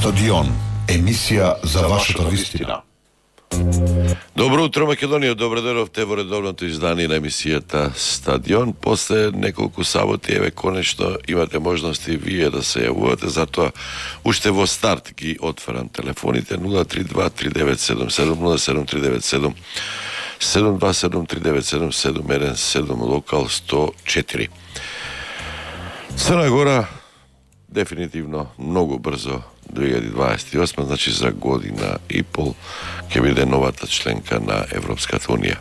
Стадион, емисија за вашата вистина. Добро утро, Македонија, добро дојдовте во редовното издание на емисијата Стадион. После неколку саботи, еве, конечно имате можности вие да се јавувате, затоа уште во старт ги отварам телефоните 032-3977, 07-727-3977, локал 104. Црна Гора дефинитивно многу брзо 2028, значи за година и пол ќе биде новата членка на Европската Унија.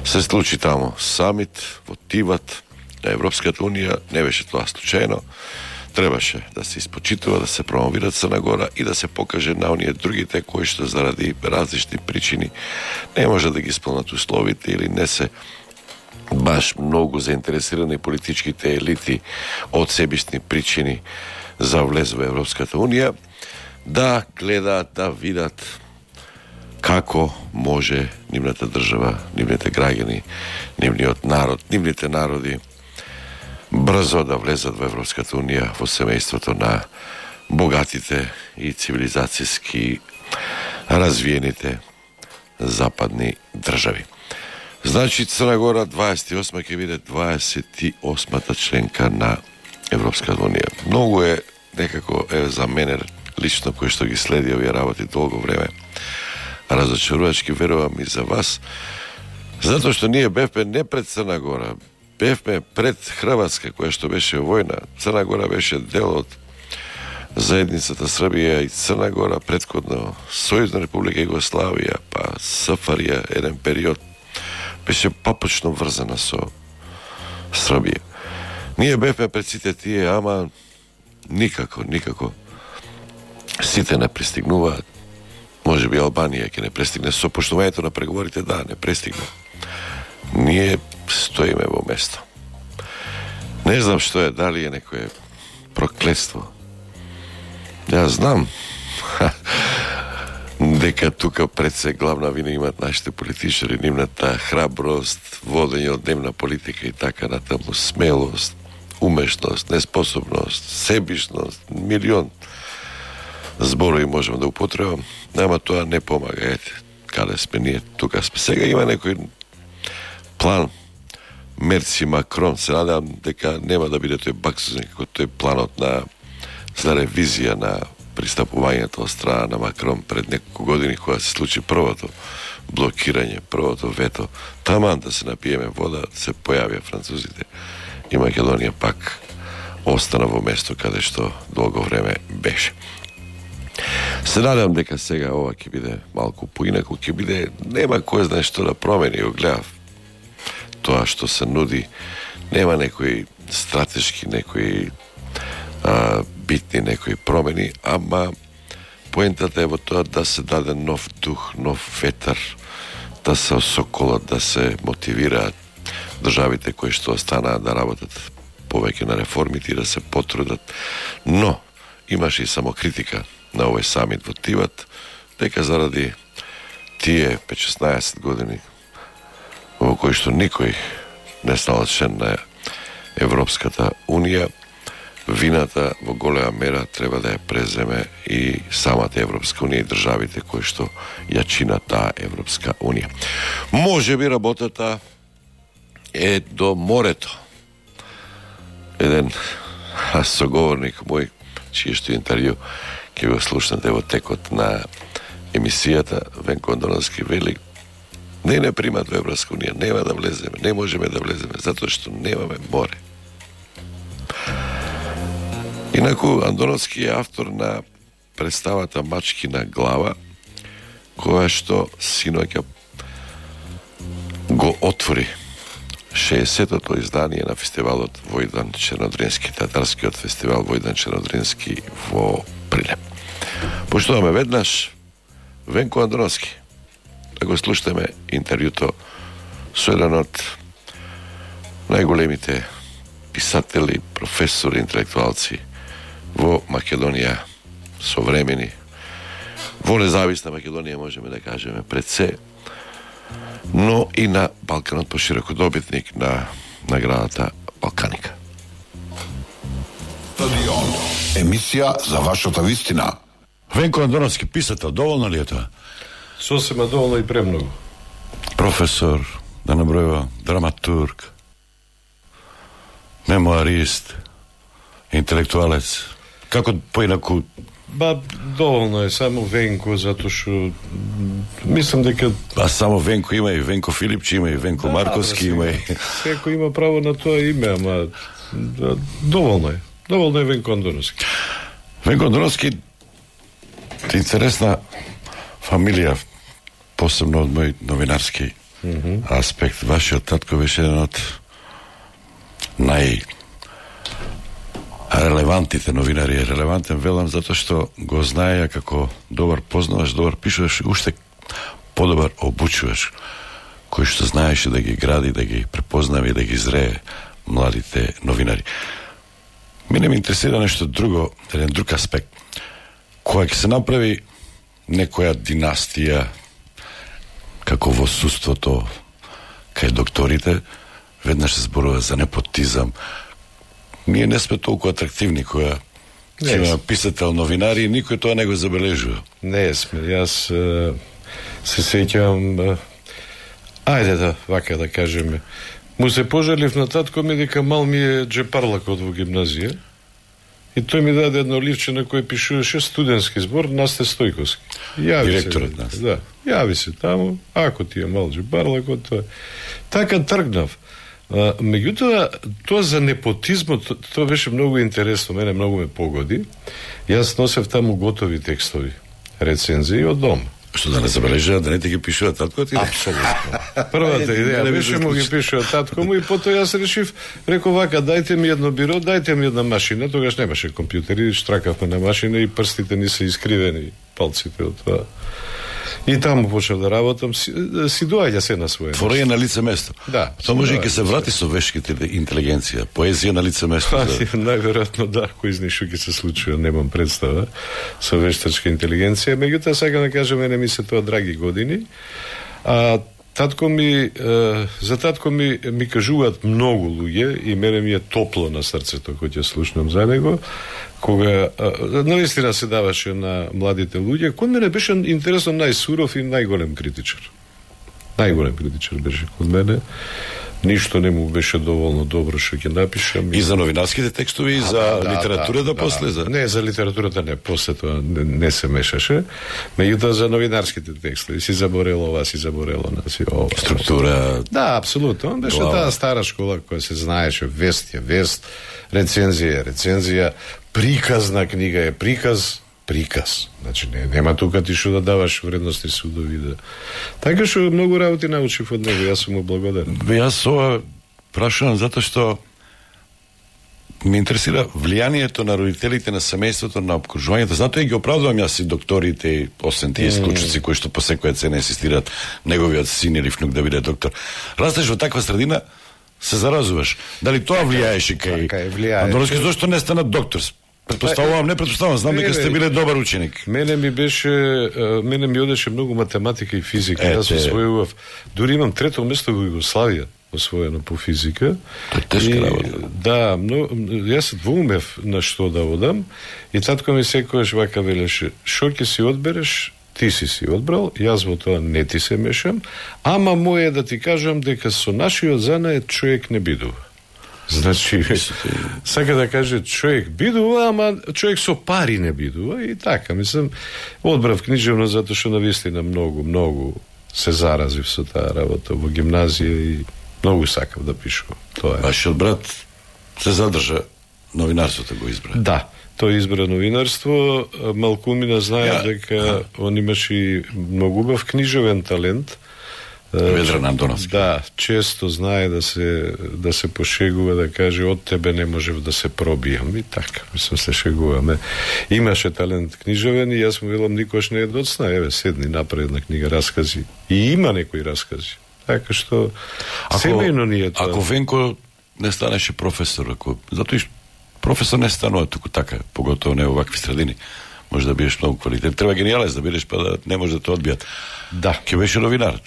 Се случи таму самит во Тиват на Европската Унија, не беше тоа случајно. Требаше да се испочитува, да се промовира Црна Гора и да се покаже на оние другите кои што заради различни причини не може да ги исполнат условите или не се баш многу заинтересирани политичките елити од себични причини за влез во Европската Унија, да гледаат, да видат како може нивната држава, нивните граѓани, нивниот народ, нивните народи брзо да влезат во Европската Унија, во семејството на богатите и цивилизацијски развиените западни држави. Значи, Црна Гора 28 ќе биде 28-та членка на Европската Унија. Многу е некако за мене лично, кој што ги следи овие работи долго време, разочарувачки, верувам и за вас, затоа што ние бевме не пред Црна Гора, бевме пред Хрватска, која што беше војна. Црна Гора беше дел од заедницата Србија и Црна Гора, претходно Сојузна република Југославија, па СФРЈ, еден период беше папочно врзана со Србија. Ние бевме пред сите тие, ама никако сите не пристигнуваат. Може би Албанија ќе не пристигне со поштувањето на преговорите, да, не пристигне. Ние стоиме во место. Не знам што е, дали е некое проклетство. Ја знам дека тука пред се главна вина имат нашите политичари, нивната храброст, водење од дневна политика и така натаму, смелост, умешност, неспособност, себичност, милион зборови можеме да употребам, ама тоа не помага. Ете, каде сме ние, тука сме. Сега има некој план Мерци Макрон, се надевам дека нема да биде тој баксузен како тој планот за ревизија на пристапувањето од страна на Макрон пред неколку години, кога се случи првото блокирање, првото вето. Таман да се напиеме вода, се појавија французите и Македонија пак остана во место каде што долго време беше. Се надевам дека сега ова ќе биде малку поинаку, ќе биде, нема кој знае што да промени, го гледав тоа што се нуди, нема некои стратешки, некои битни некои промени, ама поентата е во тоа да се даде нов дух, нов ветар, да се осоколат, да се мотивираат државите кои што останаат да работат повеќе на реформите и да се потрудат. Но имаше и самокритика на овој самит во Тиват, дека заради тие 5-16 години во кои што никој не стал член на Европската Унија, вината во голема мера треба да ја преземе и самата Европска Унија и државите кои што ја чинат таа Европска Унија. Може би работата е до морето. Еден соговорник мој, чие што интервју ќе го слушнете во текот на емисијата, Венко Андоновски, вели: не примат во Европска Унија, нема да влеземе, не можеме да влеземе, затоа што немаме море. Инаку, Андоновски е автор на представата Мачкина глава, која што синоќа го отвори 60-тото издание на фестивалот Војдан Чернодрински, татарскиот фестивал Војдан Чернодрински во Прилеп. Поштуваме веднаш Венко Андоновски. Да го слушаме интервјуто со еден од најголемите писатели, професори, интелектуалци во Македонија, современи, во независна Македонија, можеме да кажеме, пред се, но и на Балканот пошироко, добитник на наградата Балканика. Стадион, емисија за вашата вистина. Венко Андоновски, писател, доволно ли е тоа? Сосема доволно и премногу. Професор, да набројува, драматург, мемуарист, интелектуалец. Како поинаку? Доволно е само Венко, затоа што мислам дека... Само Венко има и Венко Филипчи, има и Венко Марковски, има и... Секој има право на тоа име, ама доволно е. Доволно е Венко Андоновски. Венко Андоновски, интересна фамилија, посебно од мој новинарски аспект. Вашиот татко беше еден од релевантните новинари. Релевантен велам затоа што го знаеја како добар познаваш, добар пишуваш, уште подобар обучуваш, кој што знаеше да ги гради, да ги препознава и да ги зрее младите новинари. Мене ме интересира нешто друго, еден друг аспект. Кога ќе се направи некоја династија, како во судството, кај докторите, веднаш се зборува за непотизам. Ние не сме толку атрактивни кога ќе има писател, новинари, и никој тоа не го забележува. Не сме. Јас се сеќавам, вака да кажеме, му се пожалив на татко ми дека мал ми е джепарлакот во гимназија и тој ми даде едно ливче на кој пишуваше студентски збор Насте Стојковски. Директорот нас. Да, јави се таму, ако ти е мал джепарлакот, тоа. Така тргнав. Меѓутоа, тоа за непотизмот, тоа беше многу интересно, мене многу ме погоди. Јас носев таму готови текстови, рецензии од дом. Што да не забележува, да не ти ги пишува таткот? Апсолутно. Првата идеја беше му ги пишува татко му и потоа јас решив, реков вака, дајте ми едно биро, дајте ми една машина, тогаш немаше компјутери, штракавме на машина и прстите ни се искривени, палците од тоа. И таму почнав да работам, си доаѓа се на своје. Творење на лице место. Да. Тоа може и ќе се врати со вешките интелигенција, поезија на лице место. Најверојатно да, кој знае што ќе се случи, немам представа со вештачка интелигенција, меѓутоа сакам да кажам, мене ми се тоа драги години. Татко ми, за татко ми кажуваат многу луѓе и мене ми е топло на срцето кога ќе слушнам за него, кога навистина се даваше на младите луѓе. Кон мене беше интересно најсуров и најголем критичар. Најголем критичар беше кон мене. Ништо не му беше доволно добро што ќе напишам. И за новинарските текстови, и за литературата после? Не, за литературата не, после тоа не се мешаше. Меѓутоа за новинарските текстови си заборело ова, си заборело нас и ова. Структура. Да, апсолутно. Он беше таа стара школа која се знаеше, вест е вест, рецензија е рецензија, приказ на книга е приказ. Значи, нема тука ти што да даваш вредности судови. Да. Така што многу работи научив од него, јас сум му благодарен. Јас ова прашувам затоа што ме интересира влијанието на родителите, на семејството, на обкружувањето. Затоа и ги оправдувам јас и докторите, и освен тие исклучици кои што по секоја цена инсистираат неговиот син или внук да биде доктор. Растеш во таква средина, се заразуваш. Дали тоа влијаеше кај Андоновски? Зошто не стана доктор? Предпоставувам, знам дека сте биле добар ученик. Мене ми одеше многу математика и физика. Јас освојував, дури имам трето место во Југославија освоено по физика. Тоа е тешка работа. Да, јас двоумев на што да одам и татко ми секојаш вака велеше, што ќе си одбереш, ти си одбрал, јас во тоа не ти се мешам, ама моје да ти кажам дека со нашиот занает човек не бидува. Значи, сака да каже, човек бидува, ама човек со пари не бидува и така, мислам, одбрав книжевно затоа што навистина многу се заразив со таа работа во гимназија и многу сакав да пишувам. Тоа е. Вашиот брат се задржа, новинарството го избра. Да, тој избра новинарство, малкумина знаја дека он имаше и многу убав книжевен талент. Ведран Андоновски. Да, често знае да се пошегува, да каже од тебе не можев да се пробијам и така, мислам се шегуваме. Имаше талент книжевен и јас му велам никош не е доцна, еве седни направи една книга раскази. И има некои раскази. Така што семејно ни е тоа. Ако Венко не станеше професор, затоа и професор не станува туку така, поготово не во вакви средини. Може да бидеш многу квалитет. Треба гениалец да бидеш, па да не може да те одбијат. Да. Ке беше новинар.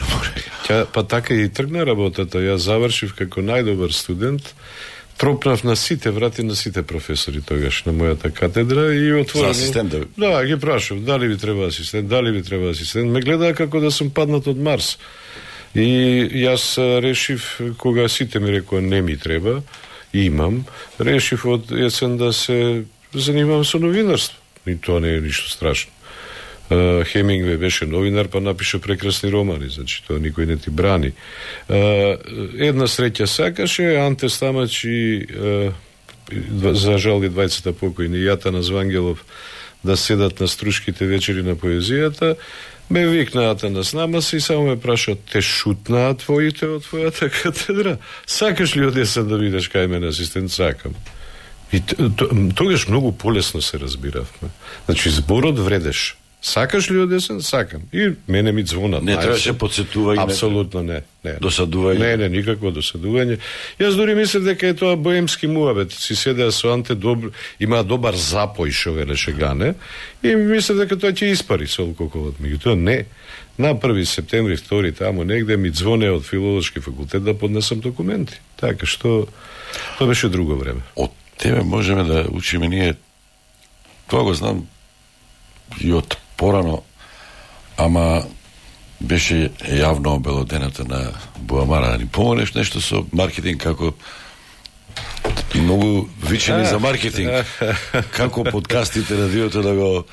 Па така и тргна работата. Јас завршив како најдобар студент тропнав на сите врати на сите професори тогаш на мојата катедра и отворено. За асистент? Да, ги прашав дали ви треба асистент, дали ви треба асистент. Ме гледаа како да сум паднат од Марс. И јас решив, кога сите ми рекоа не ми треба, имам, решив од есен да се занимавам со новинарство. И тоа не е ништо страшно. Хемингвей беше новинар, па напише прекрасни романи, значи тоа никој не ти брани. Една среќа сакаше, Анте Стамач и за жал и двајцата покојни, Јатана Звангелов, да седат на струшките вечери на поезијата. Ме викнаат на снамаси и само ме прашаат, те шутнаа твоите од твојата катедра? Сакаш ли одесен да видиш кај мене асистент? Сакам. И тогаш многу полесно се разбиравме. Значи, зборот вредеш. Сакаш ли одесен? Сакам. И мене ми звонат. Не требаше подсетување. Апсолутно не. Досадување. Не, никакво досадување. Јас дури мислев дека е тоа боемски муабет. Си седеа со Анте има добар запој, шо велеше Гане, и мислев дека тоа ќе испари со алкохолот. Меѓутоа не. На 1 септември, 2 тамо негде ми звоне од филолошки факултет да поднесам документи. Така што тоа беше друго време. Од тебе можеме да учиме ние, тоа го знам и од порано, ама беше јавно обелодената на Буамара. Да ни помогнеш нешто со маркетинг, како многу вичени за маркетинг, како подкастите, радиото да го...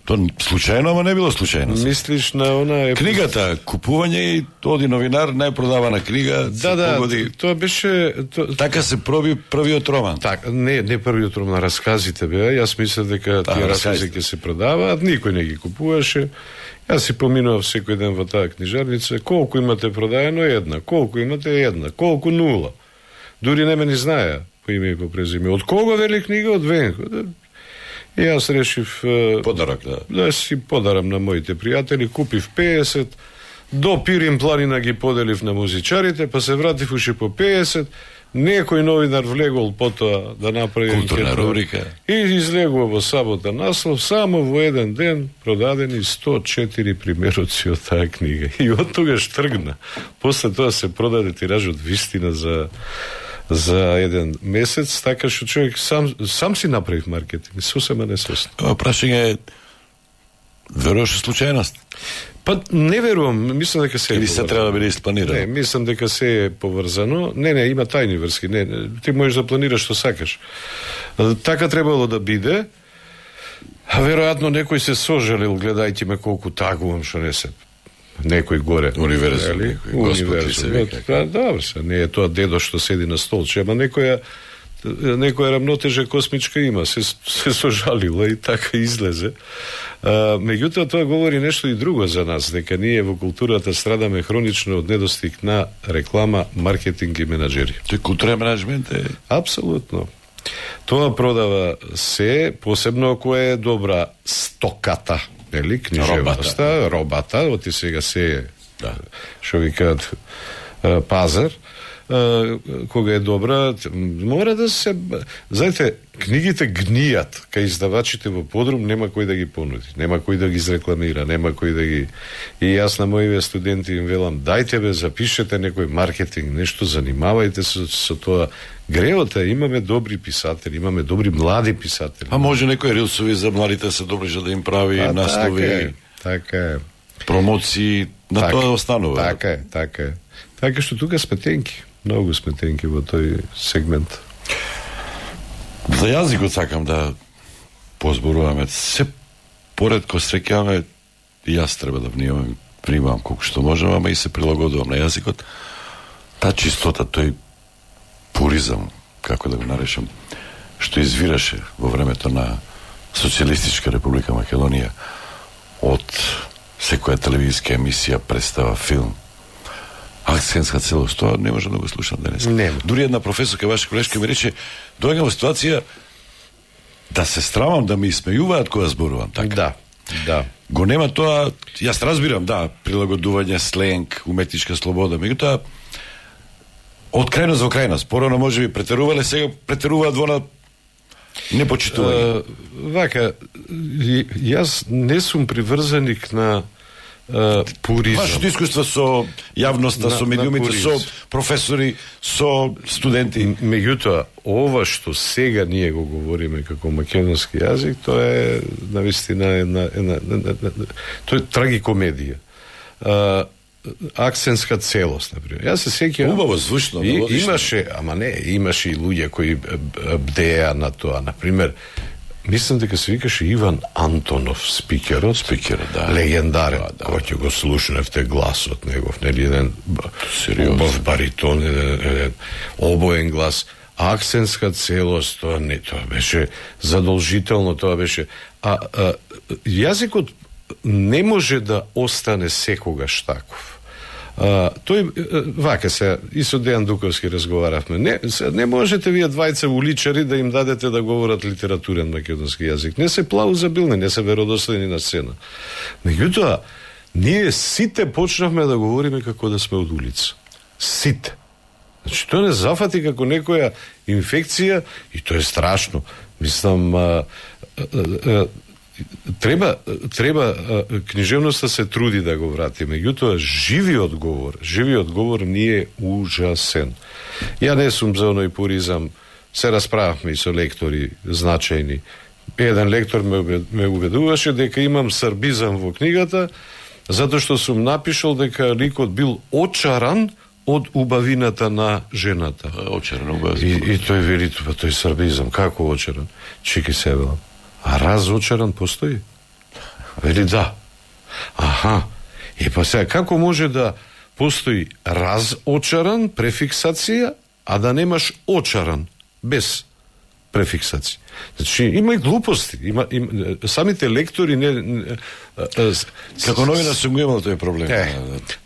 То случајно, ама не било случајно. Мислиш на она... Книгата, купување и оди новинар, најпродавана книга. Да, тоа беше... Така се проби првиот роман. Так, не првиот роман, расказите беа. Јас мислев дека тие раскази ќе се продаваат, никој не ги купуваше. Јас си поминував секој ден во таа книжарница. Колку имате продаено? Една. Колку имате? Една. Колку? 0. Дури не ме ни знаеа по име и по презиме. Од кого вели книга? Од Венко. И јас решив подарок, да си подарам на моите пријатели, купив 50, до Пирин планина ги поделив на музичарите, па се вратив уши по 50, некој новинар влегол потоа да направи културна рубрика и излегува во сабота наслов, само во еден ден продадени 104 примероци од таа книга. И од тогаш тргна. После тоа се продаде тиражот вистина за еден месец, така што човек сам си направив маркетинг, сосема несвесно. Прашање е, веруваш случајност? Па не верувам, мислам дека се или се треба да биде испланирано? Не, мислам дека се е поврзано. Не, има тајни врски. Не, ти можеш да планираш што сакаш. Така требало да биде. А веројатно некој се сожалил, гледајте ме колку тагувам што не се. Некој горе. Универзум, Господ ти се вика. Добро се, не е тоа дедо што седи на столче, ама некоја рамнотежа космичка има, се сожалила и така излезе. Меѓутоа, тоа говори нешто и друго за нас, дека ние во културата страдаме хронично од недостиг на реклама, маркетинг и менаџери. Тој културен менеджмент е... Апсолутно. Тоа продава се, посебно ако е добра стоката, нели, книжевноста, робата, оти сега се е, шо викаат, пазар, кога е добра, мора да се... Знаете, книгите гнијат, кај издавачите во подрум, нема кој да ги понуди, нема кој да ги изрекламира, нема кој да ги... И јас на моите студенти им велам, дајте бе, запишете некој маркетинг, нешто, занимавајте се со тоа. Греот е, имаме добри писатели, имаме добри млади писатели. А може некој рилсови за младите се добри да им прави наслови, така е. Промоции, на тоа останува. Така е. Така што тука сме тенки. Многу сме тенки во тој сегмент. За јазикот сакам да позборуваме. Се поредко среќаваме, и јас треба да внимавам колку што можам, ама и се прилагодувам на јазикот. Та чистота, тој пуризам, како да го наречам, што извираше во времето на Социјалистичка република Македонија од секоја телевизиска емисија, представа, филм, акцентска целост, тоа не можам да го слушам денес. Дури една професорка, ваша колешка, ми рече, доаѓам во ситуација да се страмам да ми смејуваат кога зборувам така. Да. Го нема тоа, јас разбирам, прилагодување, сленг, уметничка слобода, меѓутоа од крајност во крајност, порано може би претерувале, сега претеруваат во на непочитување. Вака, јас не сум приврзаник на пуризам. Вашето искуство со јавноста, со медиумите, со професори, со студенти. Меѓутоа, ова што сега ние го говориме како македонски јазик, тоа е навистина тоа е трагикомедија. Акцентска целост, например. Јас се сеќавам. Убаво звучно, имаше и луѓе кои бдеа на тоа, например. Мислам дека се викаше Иван Антонов, спикерот, да. Легендарен, кој ќе го слушневте гласот негов, нели еден убав баритон, еден обоен глас, акцентска целост, тоа беше задолжително, тоа беше. Јазикот не може да остане секогаш таков. Тој вака се и со Дејан Дуковски разговаравме. Не можете вие двајца уличари да им дадете да говорат литературен македонски јазик. Не се плаузабилни, не се веродостојни на сцена. Меѓутоа, ние сите почнавме да говориме како да сме од улица. Сите. Значи, тоа не зафати како некоја инфекција и тоа е страшно. Мислам, треба книжевноста се труди да го врати, меѓутоа живиот говор ни е ужасен. Ја не сум за оној пуризам, се расправавме и со лектори значајни. Еден лектор ме убедуваше дека имам сарбизам во книгата, затоа што сум напишал дека ликот бил очаран од убавината на жената. Очаран, убавината. И тој вели, тој сарбизам, како очаран? Чеки се велам. А разочаран постои? Вели да. Аха. И па сега, како може да постои разочаран, префиксација, а да немаш очаран, без префиксација? Значи, има и глупости. Самите лектори како новина сум го имал тој проблем.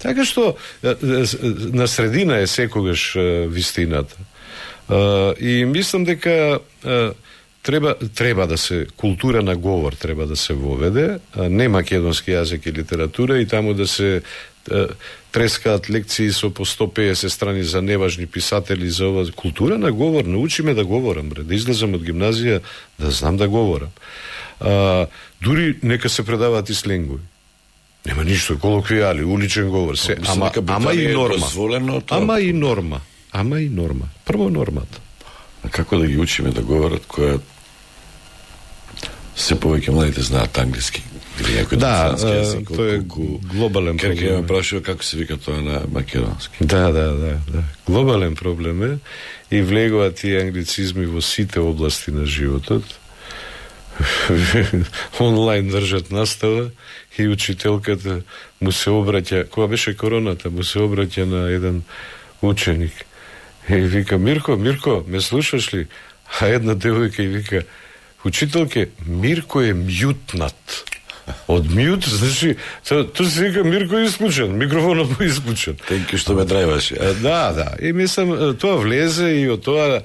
Така што на средина е секогаш вистината. И мислам дека треба да се култура на говор треба да се воведе, не македонски јазик и литература, и таму да се трескаат лекции со по 150 страни за неважни писатели, за ова култура на говор. Научиме да говорам, да излезам од гимназија, да знам да говорам. Дури нека се предаваат и сленгови. Нема ништо, колоквијали, уличен говор, се, ама и норма. Ама и норма. Прво нормата. А како да ги учиме да говорат која се повеќе младите знаат англиски или некој франски јазик? Тоа е глобален проблем. Керке ме прашува како се вика тоа на македонски. Да. Глобален проблем е и влегуваат тие англицизми во сите области на животот. Онлайн држат настава и учителката му се обраќа, кога беше короната, му се обраќа на еден ученик. И вика, Мирко, ме слушаш ли? А една девојка и вика, учителке, Мирко е мјутнат. Од мјут, значи, тоа се вика Мирко е исклучен, микрофонот му е исклучен. Тенки што ме драјваше. Да. И мислам, тоа влезе и од тоа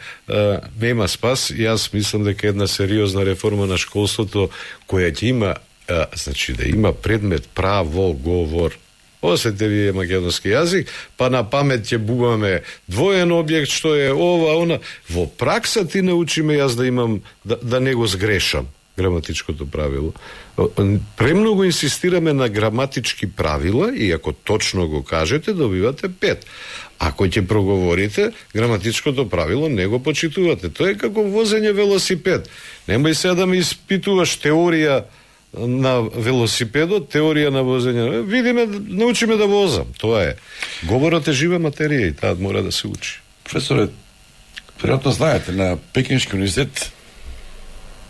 нема спас. Јас мислам дека една сериозна реформа на школството, која ќе има, значи да има предмет право говор. Осете вие македонски јазик, па на памет ќе бубаме двоен објект, што е ова, она. Во пракса ти научиме јас да имам, да не го сгрешам граматичкото правило. Премногу инсистираме на граматички правила и ако точно го кажете, добивате 5. Ако ќе проговорите, граматичкото правило не го почитувате. Тоа е како возење велосипед. Немај сега да ме испитуваш теорија на велосипедот, теорија на возење. Видиме, научиме да возам. Тоа е. Говорот е жива материја и таа мора да се учи. Професоре, веројатно знаете, на Пекински универзитет,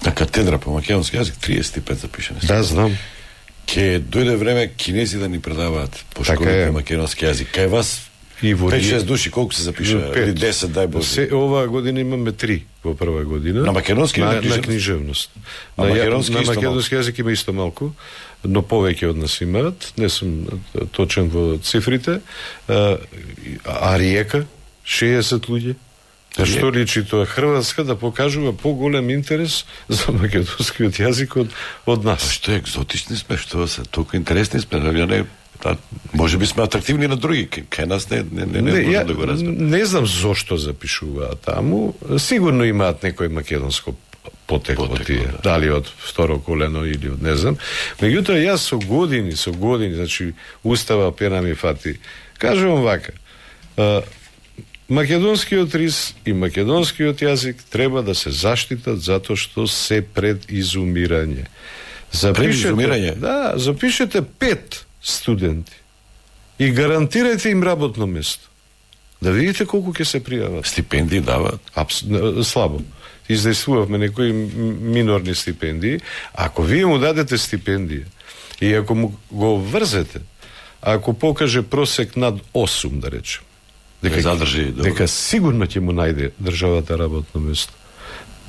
на катедра по македонски јазик 35 запишани. Да, знам. Ке дојде време кинези да ни предаваат по школи по македонски јазик. Кај вас 5-6 души, колку се запишува? Или 10, дај Боже. Оваа година имаме 3 во прва година. На македонски на книжевност. На македонски јазик има исто малку, но повеќе од нас имаат. Не сум точен во цифрите. А Риека 60 луѓе. Што личи тоа? Хрватска да покажува поголем интерес за македонскиот јазик од нас. Што екзотични сме, што се толку интересни сме, може би сме атрактивни на други, кај нас не може да го разберам. Не знам зошто запишуваат таму. Сигурно имаат некој македонско потекло тие, дали од второ колено или од не знам. Меѓутоа јас со години, значи устава пена ми фати. Кажувам вака, македонскиот рис и македонскиот јазик треба да се заштитат затоа што се пред изумирање. Запишете 5 студенти и гарантирајте им работно место. Да видите колку ќе се пријават. Стипендии дават? Слабо. Издействувавме некои минорни стипендии. Ако вие му дадете стипендија и ако му го врзете, ако покаже просек над 8, да речем, дека сигурно ќе му најде државата работно место.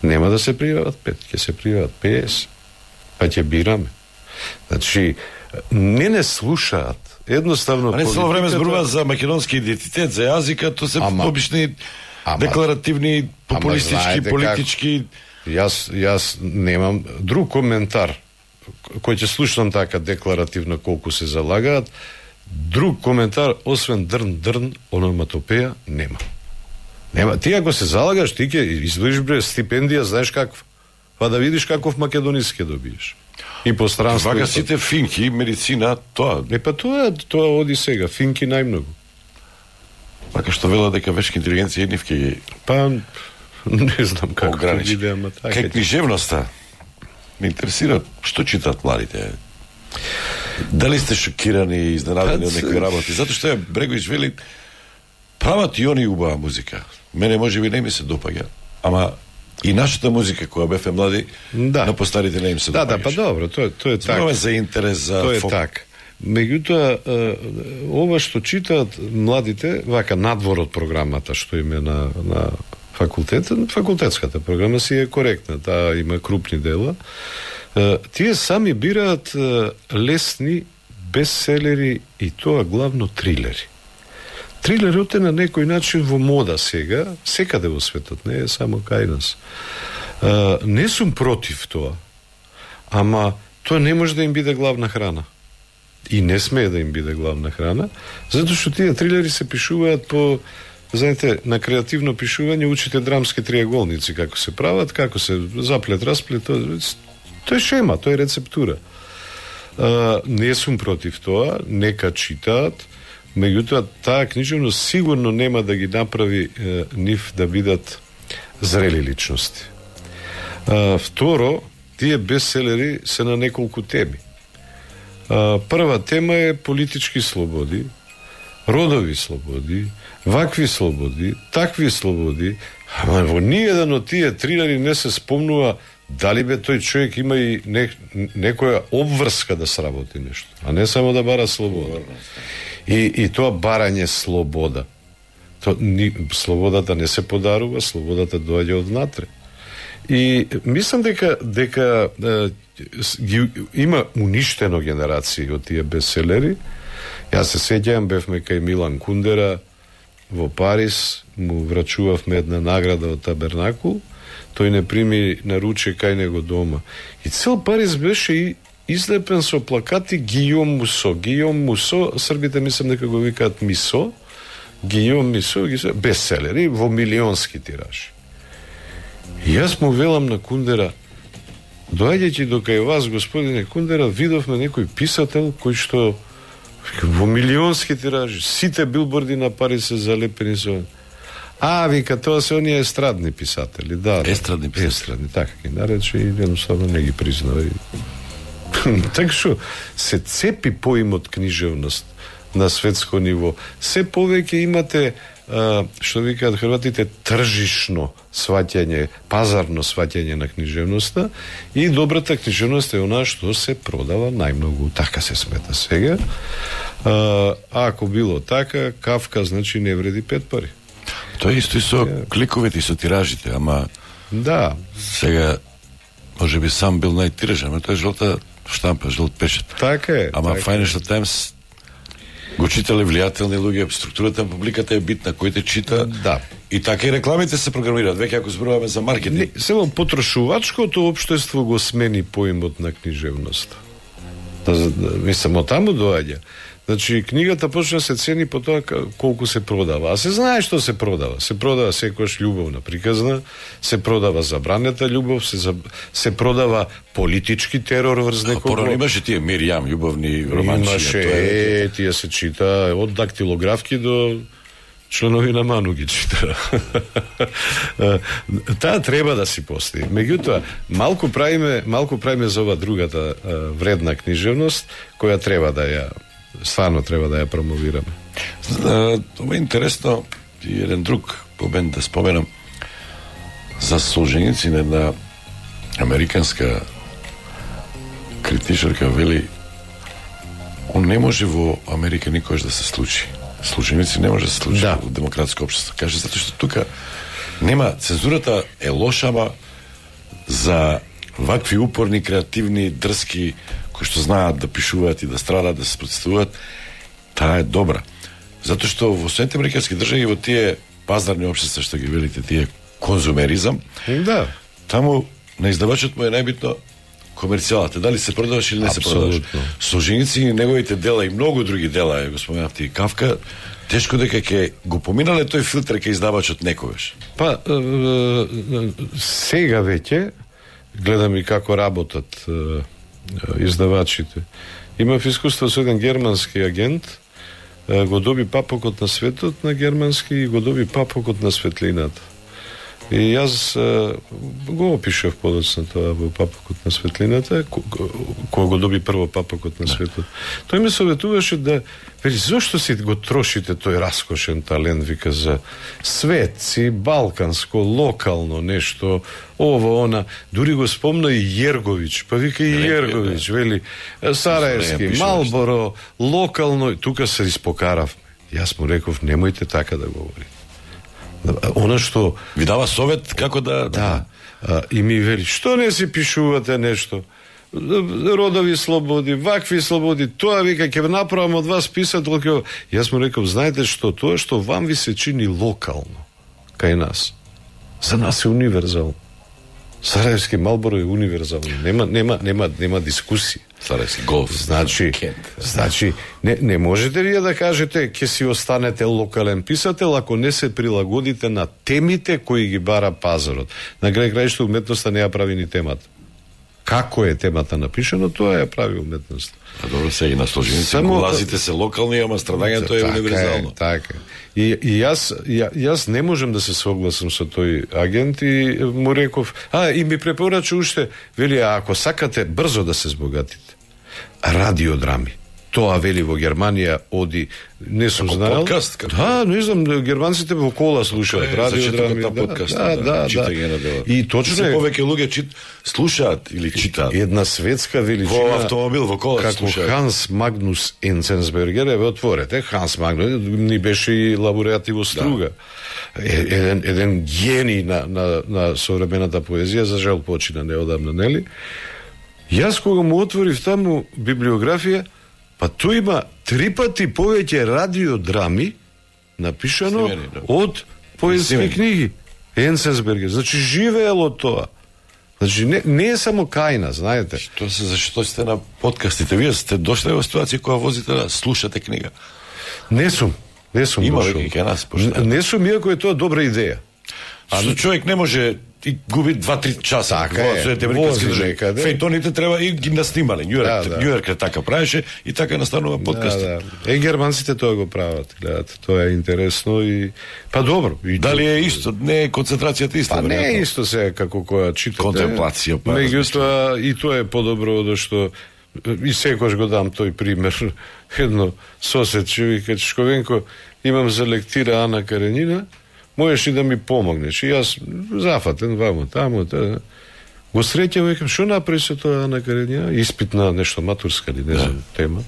Нема да се пријават 5, ќе се пријават 50. Па ќе бираме. Значи, не слушаат. Едноставно не цело време зборува за македонски идентитет, за јазика, тоа се обични декларативни, популистички, политички. Јас немам друг коментар кој ќе слушам така декларативно колку се залагаат. Друг коментар освен дрн, ономатопеја нема. Ти ако се залагаш, ти ќе издвоиш стипендија, знаеш каква. Па да видиш каков македониски добиеш. И пространство. Вака сите финки, медицина, тоа. Па тоа оди сега, финки најмногу. Вака што вела дека вешка интелигенција еднивки ги... Па, не знам како ќе биде, ама така. Кај книжевноста, ме интересира што читаат младите. Дали сте шокирани и изненадени од некои работи? Затоа што Бреговиќ вели, прават и они убава музика. Мене можеби не ми се допаѓа, ама и нашата музика која бевме млади, на постарите не им се допаѓаше. Да, па добро, тоа е така. Зборуваме за интерес, за тоа е така. Меѓутоа, ова што читаат младите, вака надвор од програмата што им е на факултетот, факултетската програма си е коректна, таа има крупни дела. Тие сами бираат лесни бестселери и тоа главно трилери. Трилерот е на некој начин во мода сега, секаде во светот, не е само кај нас. Не сум против тоа, ама тоа не може да им биде главна храна. И не смее да им биде главна храна, затоа што тие трилери се пишуваат по, знаете, на креативно пишување учите драмски триаголници, како се прават, како се заплет, расплет, тоа е шема, тоа е рецептура. Не сум против тоа, нека читаат, меѓутоа таа книжевност сигурно нема да ги направи нив да бидат зрели личности. Второ, тие бестселери се на неколку теми. Прва тема е политички слободи, родови слободи, вакви слободи, такви слободи, ама во ниеден од тие трилери не се спомнува дали бе тој човек има и некоја обврска да сработи нешто, а не само да бара слобода. И тоа барање слобода. Слободата не се подарува, слободата доаѓа однатре. И мислам дека има уништено генерации од тие бестселери. Јас се сеќавам, бевме кај Милан Кундера во Париз, му врачувавме една награда од Табернакул, тој не прими наруче кај него дома. И цел Париз беше и излепен со плакати Гијом Мусо. Гијом Мусо, србите мислам дека го викаат Мисо, Гијом Мисо, бестселери во милионски тиражи. И јас му велам на Кундера, доаѓајќи до кај вас, господине Кундера, видовме некој писател кој што во милионски тиражи, сите билборди на Париз се залепени со... вика, тоа се оние естрадни писатели. Да, естрадни писатели. Естрадни, така ги нарече и едноставно не ги признава. Така што се цепи поимот книжевност на светско ниво. Се повеќе имате што викаат хрватите тржишно сваќање, пазарно сваќање на книжевноста и добрата книжевност е онаа што се продава најмногу, така се смета сега. Ако било така, Кафка значи не вреди 5 пари. Тоа исто и со кликовите и со тиражите, ама да, сега можеби сам бил најтиражен, но тоа е жолта штампа, жолт печат. Така е. Ама така Financial Times го читале влијателни луѓе, структурата на публиката е битна, кој те чита. Да. И така и рекламите се програмираат, веќе ако зборуваме за маркетинг. Само потрошувачкото општество го смени поимот на книжевноста. Мислам, од таму доаѓа. Значи, книгата почна се цени по тоа колку се продава. А се знае што се продава. Се продава секојаш љубовна приказна, се продава забранета љубов, се продава политички терор врз некого. Порано имаше тие Миријам, љубовни романчи. Имаше, тие се чита од дактилографки до членови на Ману ги чита. Таа треба да си постои. Меѓутоа, малку правиме за ова другата вредна книжевност, која треба да ја стварно треба да ја промовираме. Ова е интересно и еден друг момент да споменам за Солженицин, една американска критичарка вели, он не може во Америка никош да се случи. Солженицин не може да се случи во демократско општество. Каже, затоа што тука нема, цензурата е лоша, ама за вакви упорни, креативни, дрски, кои што знаат да пишуваат и да страдат, да се протестуваат, таа е добра. Затоа што во Соединетите американски држави, во тие пазарни општества што ги велите, тие конзумеризам, таму на издавачот му е најбитно комерцијалата, дали се продаваш или не се продаваш. Солженицин и неговите дела и многу други дела, го споменавте и Кавка, тешко дека ќе го поминале тој филтер ке издавачот некогаш. Па, сега веќе, гледам и како работат издавачите. Имав искуство со еден германски агент, го доби папокот на светот на германски и го доби папокот на светлината. И јас го опишав подоцна тоа во папокот на светлината, кој го доби прво папокот на светот. Тој ме советуваше да, вели, зошто си го трошите тој раскошен талент, вика, за светци, балканско, локално нешто, ово, она, дури го спомна и Јерговиќ, па вика и Јерговиќ, вели, Сараевски, Малборо, локално, тука се испокаравме. Јас му реков, немојте така да говорите. Она што ви дава совет како да и ми вели, што не си пишувате нешто, родови слободи, вакви слободи, тоа вика ќе направам од вас писател. Јас му реков, знаете што, тоа што вам ви се чини локално кај нас, за нас е универзално. Сараевски Малборо е универзално, нема дискусија. Сараевски голф. Значи не можете вие да кажете ќе си останете локален писател ако не се прилагодите на темите кои ги бара пазарот. На крај крајшто уметноста не ја прави ни темата. Како е темата напишано, тоа ја прави уметноста. А добро, се и на Солженицин улазите се локални, ама страдањето е универзално. Така е. И јас не можам да се согласам со тој агент и му реков, и ми препорача уште, вели, ако сакате брзо да се збогатите, радиодрами. Тоа, вели, во Германија оди, не сум знаел. Подкаст? Не знам, германците во кола слушаат радиодрами. И точно е. Повеќе луѓе слушаат или читаат. Една светска величина. Во автомобил, во кола слушаат. Како Ханс Магнус Енценсбергер, отворете. Ханс Магнус ни беше и лауреат во Струга. Еден гений на современата поезија, за жал почина неодамна, нели? Јас кога му отворив таму библиографија, па тој има 3 пати повеќе радиодрами напишано од поетски книги. Енценсбергер. Значи живеело тоа. Значи не е само кајна, знаете. Зашто сте на подкастите? Вие сте дошли во ситуација кога возите да слушате книга? Не сум Има дошол. веќе нас. Не сум, иако е тоа добра идеја. Што човек не може и губи 2-3 часа. Така е, вози некаде. Фејтоните треба и ги наснимале. Њујорк така правеше и така настанува подкаст. Германците тоа го прават, гледате, тоа е интересно и па добро. Дали е исто? Не е концентрацијата иста? Па не е исто сега како која читате. Контемплација, па. Меѓутоа и тоа е подобро од што и секојаш го дам тој пример. Едно соседче вика, Чешковенко, имам за лектира Ана Каренина, можеш и да ми помогнеш. И јас зафатен вамо, тамо, го среќам, викам, што направи со тоа Ана Каренина? Испит на нешто матурска ли, не знам, тема.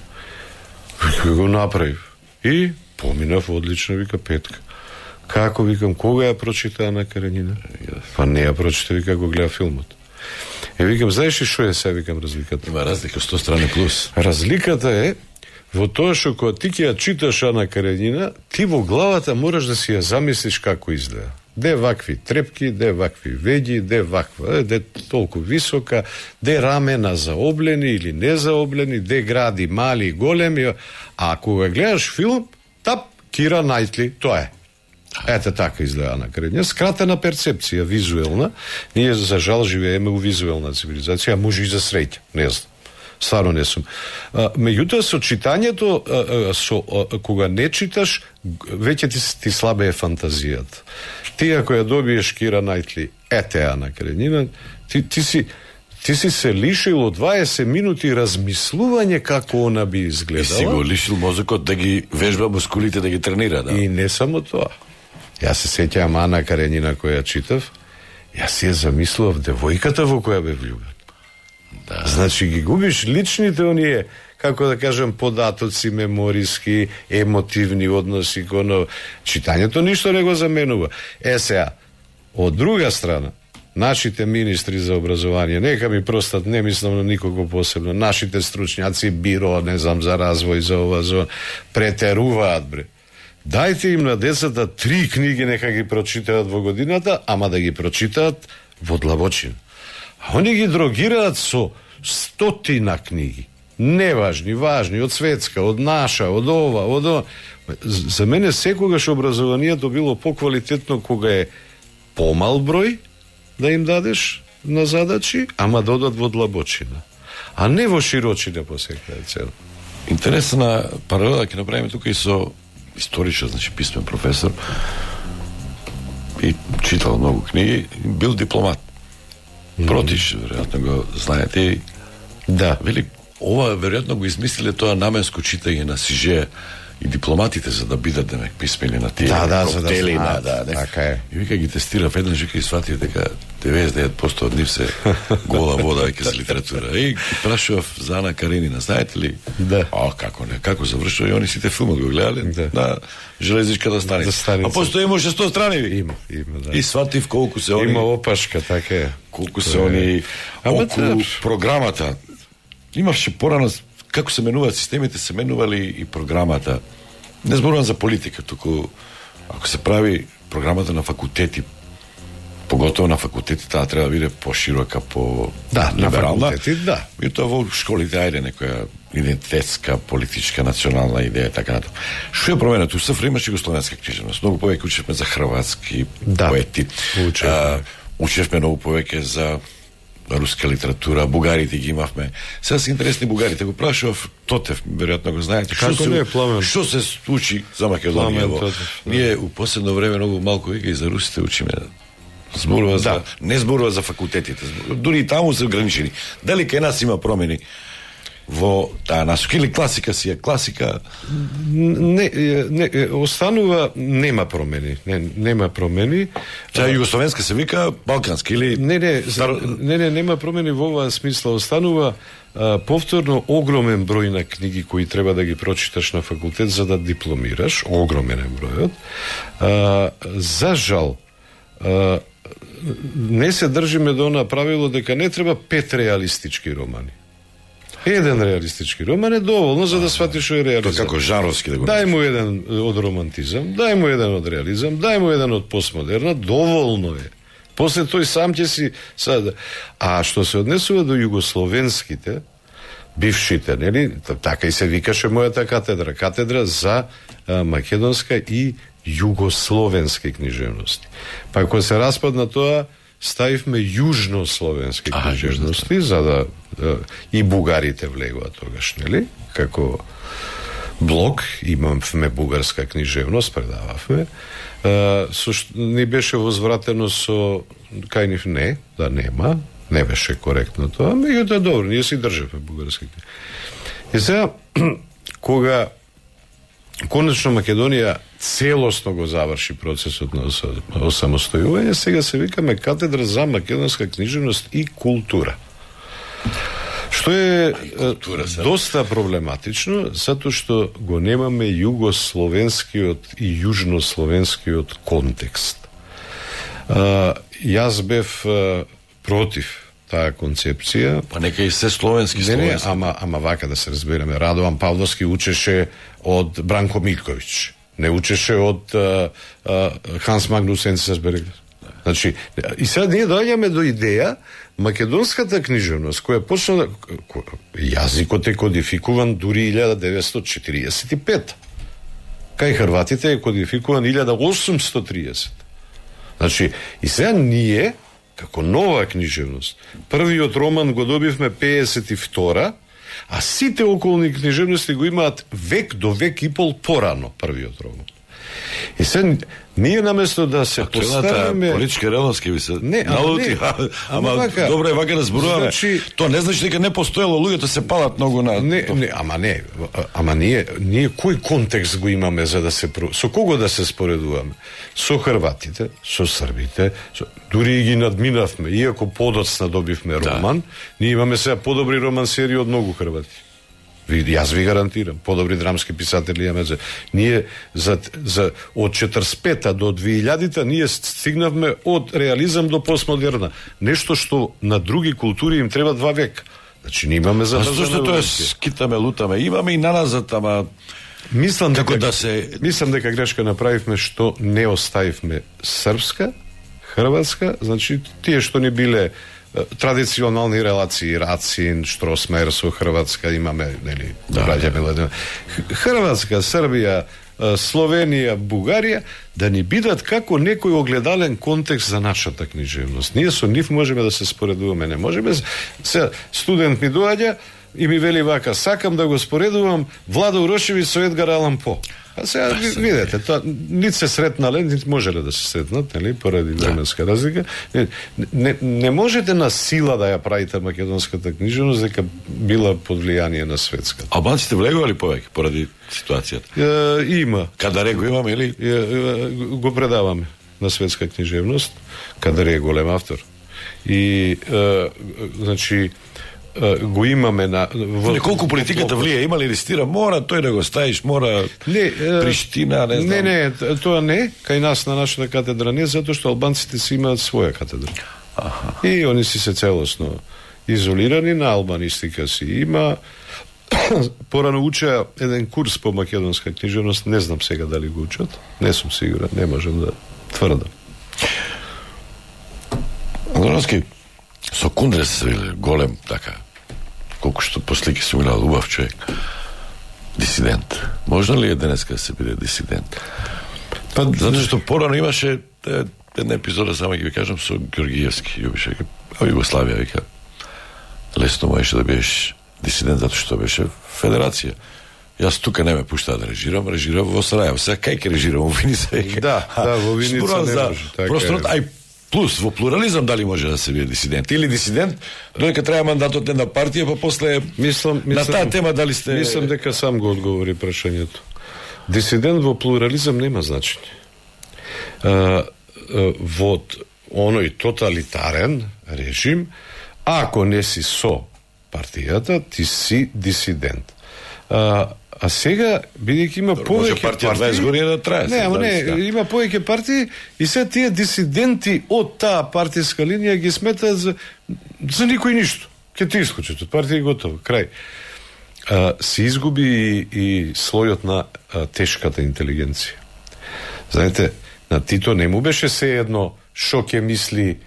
Го направив. И поминав одлично, вика, петка. Како, викам, кога ја прочита Ана Каренина? Па не ја прочита, вика, го гледа филмот. Викам, знаеш ли што е сега, викам, разликата? Има разлика, 100 страни плюс. Разликата е во тоа што кога ти ќе ја читаш Ана Каренина, ти во главата мораш да си ја замислиш како изгледа. Де вакви трепки, де вакви веѓи, де ваква, де толку висока, де рамена заоблени или незаоблени, де гради мали и големи, а кога гледаш филм, тап, Кира Најтли, тоа е. Ете така изгледа на Каренина. Скратена перцепција, визуелна. Ние, за жал, живееме у визуелна цивилизација, а може и за среќа, не знам. Стварно не сум. Меѓутоа, со читањето, кога не читаш, веќе ти слабее фантазијата. Ти, ако ја добиеш Кира Најтли, етеа на Каренина, ти си се лишил од 20 минути размислување како она би изгледала. И си го лишил мозокот да ги вежба мускулите, да ги тренира, да. И не само тоа. Јас се сеќавам Ана Каренина која читав, јас си ја замислував девојката во која бе влюбен. Да. Значи ги губиш личните оние, како да кажем, податоци, мемориски, емотивни односи, коно читањето ништо не го заменува. Сега, од друга страна, нашите министри за образование, нека ми простат, не мислам на никого посебно, нашите стручњаци, биро, не знам, за развој, за ова, за претеруваат, бре. Дајте им на децата 3 книги, нека ги прочитаат во годината, ама да ги прочитаат во длабочина. А они ги дрогираат со 100 книги. Неважни, важни, од светска, од наша, од ова, од ова. За мене секогаш образованието било поквалитетно кога е помал број да им дадеш на задачи, ама да одат во длабочина. А не во широчина по секаде цел. Интересна паралела ќе направиме тука и со историчар, значи писмен професор, и читал многу книги, бил дипломат. Протиш, веројатно го знаете. Да. Вели, ова веројатно го измислиле тоа наменско читање на Сиже и дипломатите за да бидат демек писмени на тие коктели, да, така е. И вика ги тестирав еднаш, вика и сватија дека 99% од нив се гола вода веќе за литература. И прашував за Ана Каренина, знаете ли? Да. Како не, како завршува, и они сите филмот го гледале, да, на железничката станица. А постои има 600 страни, ви. Има, да. И сватив колку се они... Има опашка, така е. Колку се они околу програмата. Имавше порано, како се менуваат системите, се менували и програмата. Не зборувам за политика, туку ако се прави програмата на факултети, поготово на факултети, таа треба да биде поширока, по-либерална. На факултети, да. И тоа во школите, ајде, некоја идентитетска, политичка, национална идеја, така натаму. Што е променето? У СФР имаше југословенска книжевност. Многу повеќе учевме за хрватски поети. Учевме многу повеќе за руска литература, бугарите ги имавме. Сега се интересни бугарите. Го прашував Тотев, веројатно го знаете. Што се случи за Македонија? Ние у последно време многу малку и за русите учиме. Зборува за, не зборува за факултетите. Дури и таму се ограничени. Дали кај нас има промени во таа насока или класика си е класика? Не, останува, нема промени. Нема промени. Сега југословенска се вика балкански или... Не, нема промени во оваа смисла. Останува повторно огромен број на книги кои треба да ги прочиташ на факултет за да дипломираш. Огромен е бројот. За жал, не се држиме до она правило дека не треба 5 реалистички романи. Еден реалистички роман е доволно за да сватиш што е реализам. Тоа како жанровски да го... Дај му еден од романтизам, дај му еден од реализам, дај му еден од постмодерна, доволно е. После тој сам ќе си сад. А што се однесува до југословенските, бившите, нели? Така и се викаше мојата катедра, катедра за македонска и југословенски книжевности. Па кога се распадна тоа, ставивме јужнословенски книжевности, за да и бугарите влегува тогаш, нели? Како блок, имавме бугарска книжевност, предававме. Ни беше возвратено со кај нив не, да нема, не беше коректно тоа, меѓутоа добро, ние си државме бугарски книжевност. И сега, кога конечно Македонија целосно го заврши процесот на осамостојување, сега се викаме катедра за македонска книжевност и култура. Што е доста проблематично, затоа што го немаме југословенскиот и јужнословенскиот контекст. Јас бев против таа концепција. Па нека и се словенски. Не, ама вака да се разбереме. Радован Павловски учеше од Бранко Милковиќ. не учеше од Ханс Магнус Енцесбергер. Значи, и сега ние доаѓаме до идеја македонската книжевност, која почна јазикот е кодификуван дури 1945. Кај хрватите е кодификуван 1830. Значи, и сега ние, како нова книжевност, првиот роман го добивме 52-а, а сите околни книжевности го имаат век до век и пол порано првиот роман. И сега ние наместо да се поставиме политичка реалност ќе ви се налути, ама добро е вака да зборуваме. Значи, тоа не значи дека не постоело, луѓето се палат многу на ама ние кој контекст го имаме за да се со кого да се споредуваме? Со хрватите, со србите, дури ги надминавме, иако подоцна добивме роман, ние имаме сега подобри романсери од многу хрвати. Јас ви гарантирам, подобри драмски писатели имаме. Ние од 45-та до 2000-та ние стигнавме од реализам до постмодерна. Нешто што на други култури им треба 2 века. Значи ние имаме за зашто тоа скитаме, лутаме, имаме и наназад, ама мислам дека грешка направивме што не оставивме српска, хрватска, значи тие што не биле традиционални релации, Рацин, Штросмер со Хрватска имаме, нели, Хрватска, Србија, Словенија, Бугарија, да ни бидат како некој огледален контекст за нашата книжевност. Ние со нив можеме да се споредуваме, не можеме. Се студент ми доаѓа и ми вели вака: сакам да го споредувам Владо Урошевиќ со Едгар Алан По. А сега видете, тоа нит се сретнале, нит можеле да се сретнат, нели, поради временска разлика. Не можете на сила да ја правите македонската книжевност дека била под влијание на светската. Албанците влегували повеќе поради ситуацијата? Има. Кадаре го имаме или? Го предаваме на светска книжевност. Кадаре е голем автор. И значи го имаме на колку политиката влие, има ли листира, мора тој да го ставиш, мора Приштина, не знам. Не, тоа не, кај нас на нашата катедра не, затоа што албанците си имаат своја катедра. И они си се целосно изолирани, на албанистика си има. Порано учеа еден курс по македонска книжевност, не знам сега дали го учат, не сум сигурен, не можам да тврдам. Донски, со Кундрес се вели голем, така, колку што послики се милал убав човек. Дисидент. Можно ли е денеска да се биде дисидент? Па, затоа што порано имаше една епизода, само ќе ви кажам, со Георгиевски, Југославија, вика, лесно можеше да бидеш дисидент, затоа што беше федерација. Јас тука не ме пуштаа да режирам во Сарајево. Сега кај ке режирам, во Виница? Да, во Виница не може. Просторот, ај плюс, во плурализам дали може да се биде дисидент? Или дисидент, додека треба мандатот една партија, па после на таа тема дали сте... Мислам дека сам го одговори прашањето. Дисидент во плурализам нема значење. Во оној тоталитарен режим, ако не си со партијата, ти си дисидент. А сега, бидејќи има повеќе партии... Може партија 20 години да трае. Не, има повеќе партии и сега тие дисиденти од таа партиска линија ги сметаат за никој ништо. Ке ти искочат од партија и готово, крај. Се изгуби и слојот на тешката интелигенција. Знаете, на Тито не му беше се едно шо ќе мисли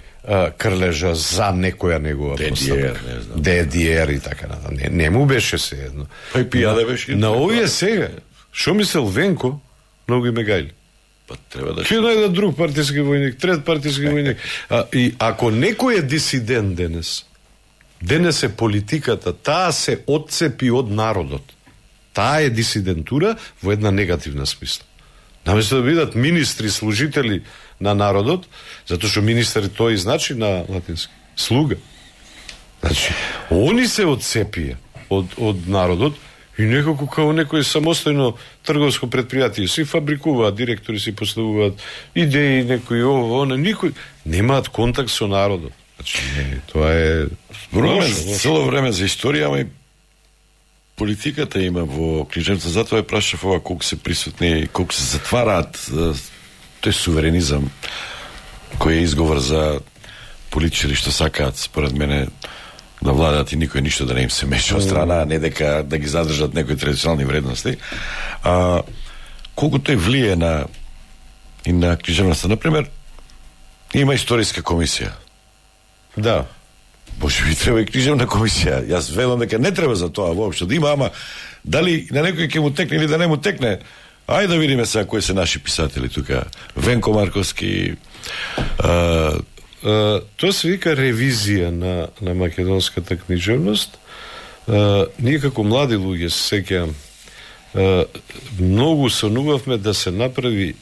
Крлежа за некоја негова поставка. ДДР и така натаму. Не му беше се едно. Па и пијаде беше. На овие сега, шо мисел Венко, многу име гајли. Па треба да... Ќе најде друг партиски војник, трет партиски војник. И ако некој е дисидент денес е политиката, таа се отцепи од народот. Таа е дисидентура во една негативна смисла. Наместо да бидат министри, служители на народот, затоа што министри тоа и значи на латински слуга. Значи, они се отцепија од народот и некако као некој самостојно трговско предпријатие си фабрикуваат, директори си поставуваат идеи, некои ово, никој немаат контакт со народот. Значи, тоа е цело време за историја, ама и политиката има во книжевноста, затоа ја прашав ова колку се присутни, колку се затвараат тој суверенизам кој е изговор за политичари што сакаат, според мене, да владат и никој ништо да не им се меша од страна, не дека да ги задржат некои традиционални вредности. колку тој влие и на книжевноста. Например, има историска комисија. Да. Може би треба и книжевна комисија. Јас велам дека не треба за тоа воопшто да има, ама дали на некој ќе му текне или да не му текне, ајде да видиме сега кои се наши писатели тука. Венко Марковски. Тоа се вика ревизија на македонската книжевност. Ние како млади луѓе се сеќавам, многу сонувавме да се направи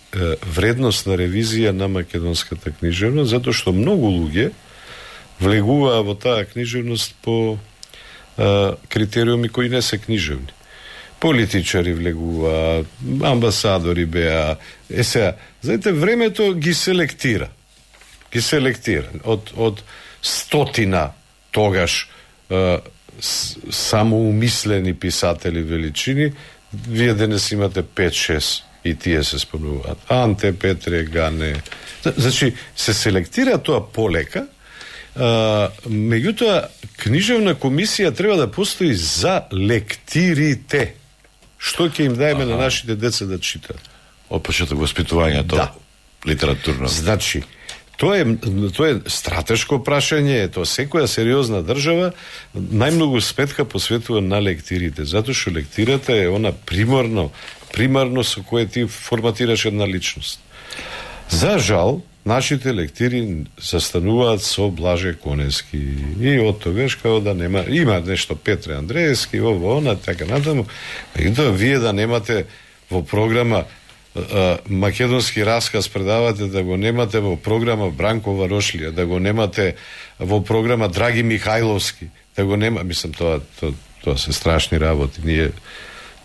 вредностна ревизија на македонската книжевност, затоа што многу луѓе влегуваа во таа книжевност по критериуми кои не се книжевни. Политичари влегуваа, амбасадори беа. Сега, знаете, времето ги селектира. Од стотина тогаш самоумислени писатели величини, вие денес имате 5-6 и тие се спомнуваат. Анте, Петре, Гане. Значи, се селектира тоа полека, меѓутоа, книжевна комисија треба да постои за лектирите. Што ќе им даеме на нашите деца да читат? Од почеток воспитувањето литературно. Значи, тоа е стратешко прашање, тоа секоја сериозна држава најмногу сметка посветува на лектирите, затоа што лектирата е она примарно со кое ти форматираш една личност. За жал, нашите лектири застануваат со Блаже Конески и од тогаш као да има нешто Петре Андреевски, ово, она, така натаму. И тоа вие да немате во програма македонски расказ предавате, да го немате во програма Бранко Варошлија, да го немате во програма Драги Михајловски, да го нема, мислам, тоа се страшни работи. Ние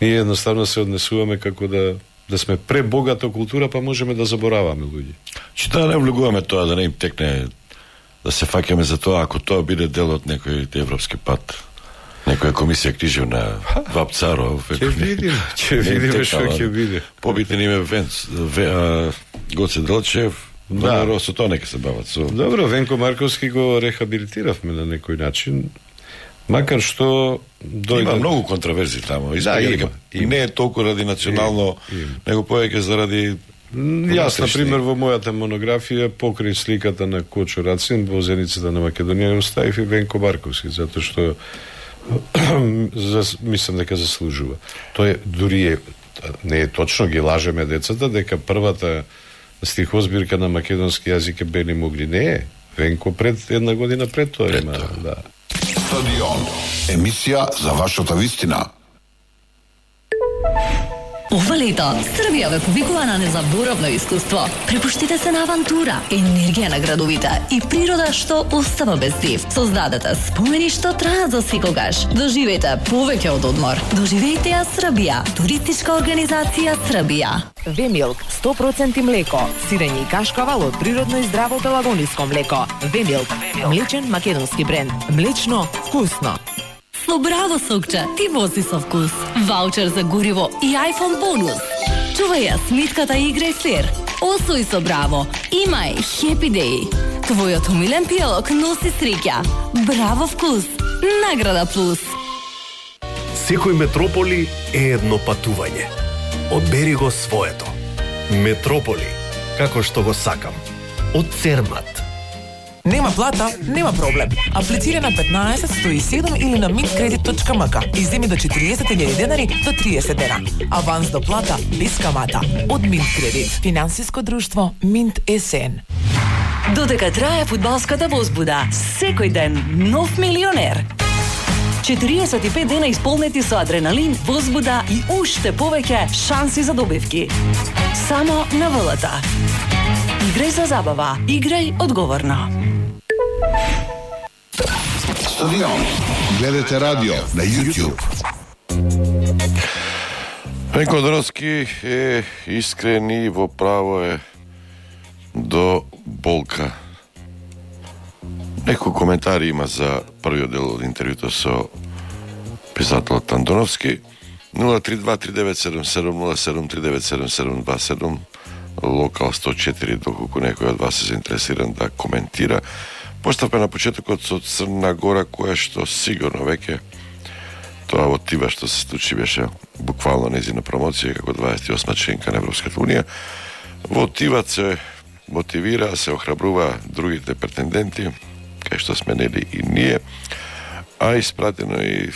едноставно се однесуваме како да сме пребогата култура, па можеме да забораваме луѓе. Че не влегуваме тоа, да не им текне, да се фаќаме за тоа, ако тоа биде дел од некој европски пат, некоја комисија книжевна, Вапцаров. Ќе видиме што ќе биде. Побитен име Гоце Делчев, со тоа нека се бават. Добро, Венко Марковски го рехабилитиравме на некој начин, макар што има многу контраверзи таму. Има. И не е толку ради национално, него повеќе заради... Јас, например, во мојата монографија покрај сликата на Кочо Рацин во зеницата на Македонија оставив и Венко Марковски, затоа што мислам дека заслужува. Тоа дури не е точно, ги лажеме децата дека првата стихозбирка на македонски јазик е Бели Мугли. Не е. Венко една година пред тоа има. Да. Стадион. Емисија за вашата вистина. Ова лето Србија ве повикува на незаборавно искуство. Препуштите се на авантура, енергија на градовите и природа што остава без див. Создадете спомени што траат за секогаш. Доживејте повеќе од одмор. Доживејте ја Србија. Туристичка организација Србија. Вемилк 100% млеко, сирење и кашкавал од природно и здраво пелагониско млеко. Вемилк, млечен македонски бренд. Млечно, вкусно. Со Браво сокче, ти вози со вкус. Ваучер за гориво и iPhone бонус. Чувај ја смитката и играј флер. Освој со Браво. Имај Happy Day. Твојот умилен пијалок носи среќа. Браво вкус. Награда плюс. Секој метрополи е едно патување. Одбери го своето. Метрополи, како што го сакам. Од Цермат. Нема плата, нема проблем. Аплицира на 15 107 или на mintkredit.mk и земи до 40.000 денари до 30 дена. Аванс до плата без камата. Од Mintkredit. Финансиско друштво Mint СН. Додека трае фудбалската возбуда, секој ден нов милионер. 45 дена исполнети со адреналин, возбуда и уште повеќе шанси за добивки. Само на ВЛТ. Играј за забава, играј одговорно. Стадион. Гледате радио на YouTube. Венко Дроцки е искрен и во право е до болка. Некој коментари има за првиот дел од интервјуто со писателот Андоновски. 032-3977-07397727 Локал 104, доколку некој од вас се заинтересиран да коментира. Поставка на почетокот со Црна Гора, која што сигурно веќе Тоа во Тива што се случи беше буквално незина промоција како 28 членка на Европската унија. Во Тива се мотивира, се охрабрува другите претенденти, кај што сме нели и ние, а испратено и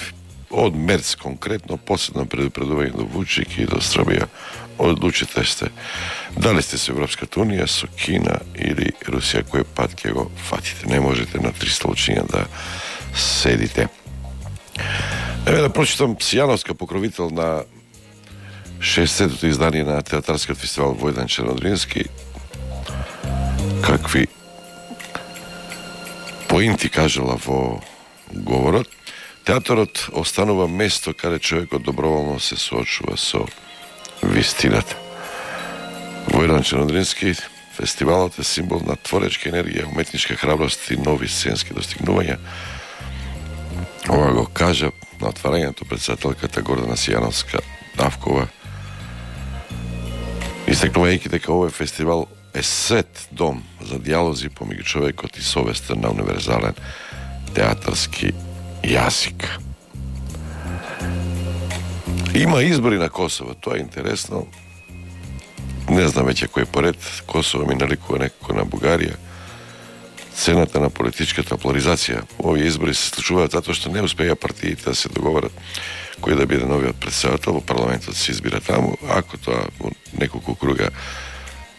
од Мерц конкретно последно предупредување до Вучик и до Србија. Одлучите сте дали сте со Европската унија, со Кина или Русија, кој пат ќе го фатите. Не можете на 300 учиња да седите. Еве да прочитам Сијановска, покровител на 60-тото издание на театарскиот фестивал Војдан Чернодрински, какви поинти кажала во говорот. Театарот останува место каде човекот доброволно се соочува со вистината. Војдан Чернодрински, фестивалот е символ на творечка енергија, уметничка храброст и нови сценски достигнувања. Ова го кажа на отварањето председателката Гордана Сијановска-Давкова, истекнувајќи дека овој фестивал е свет дом за дијалози помеѓу човекот и совеста на универзален театарски јазик. Има избори на Косово, тоа е интересно. Не знам веќе кој поред. Косово ми наликува некако на Бугарија. Цената на политичката поларизација. Овие избори се случуваат затоа што не успеа партиите да се договорат кој да биде новиот председател. Во парламентот се избира таму. Ако тоа во неколку круга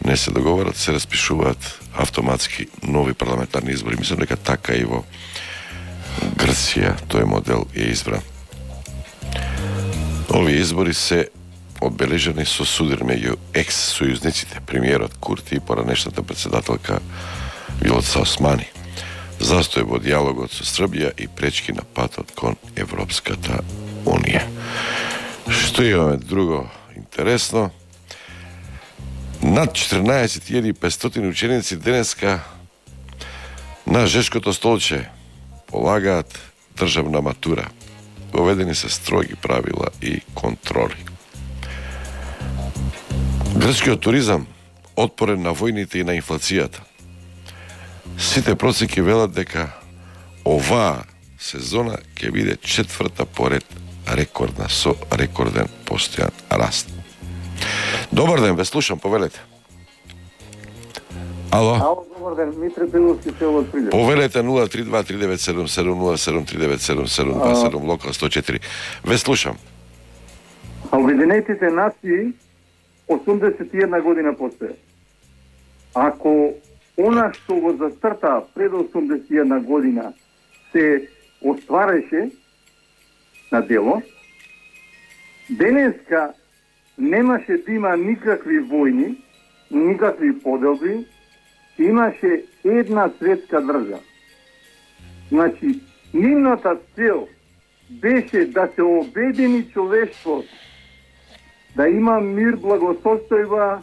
не се договорат, се распишуваат автоматски нови парламентарни избори. Мислам дека така и во Грција тој модел е избран. Овие избори се одбележани со судир меѓу екс-сојузниците, премиерот Курти и поранешната председателка Вилоца Османи. Застој во дијалогот со Србија и пречки на патот кон Европската унија. Што имаме друго интересно? Над 14.500 ученици денеска на Жешкото столче полагаат државна матура. Воведени се строги правила и контроли. Грчкиот туризам отпорен на војните и на инфлацијата. Сите процеки велат дека оваа сезона ќе биде четврта поред рекордна со рекорден постојан раст. Добар ден, ве слушам, повелете. Ало, добар ден, Митре Пиловски се од Прилеп. Повелете 032-3977-07-3977-27, локал 104. Ве слушам. Обединетите нации 81 година постоја. Ако она што го зацрта пред 81 година се оствареше на дело, денеска немаше да има никакви војни, никакви поделби, имаше една светска држава. Значи, нивната цел беше да се обедини човештвото, да има мир, благосостојба,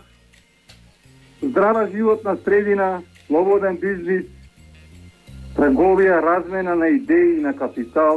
здрава животна средина, слободен бизнис, трговија, размена на идеи, на капитал,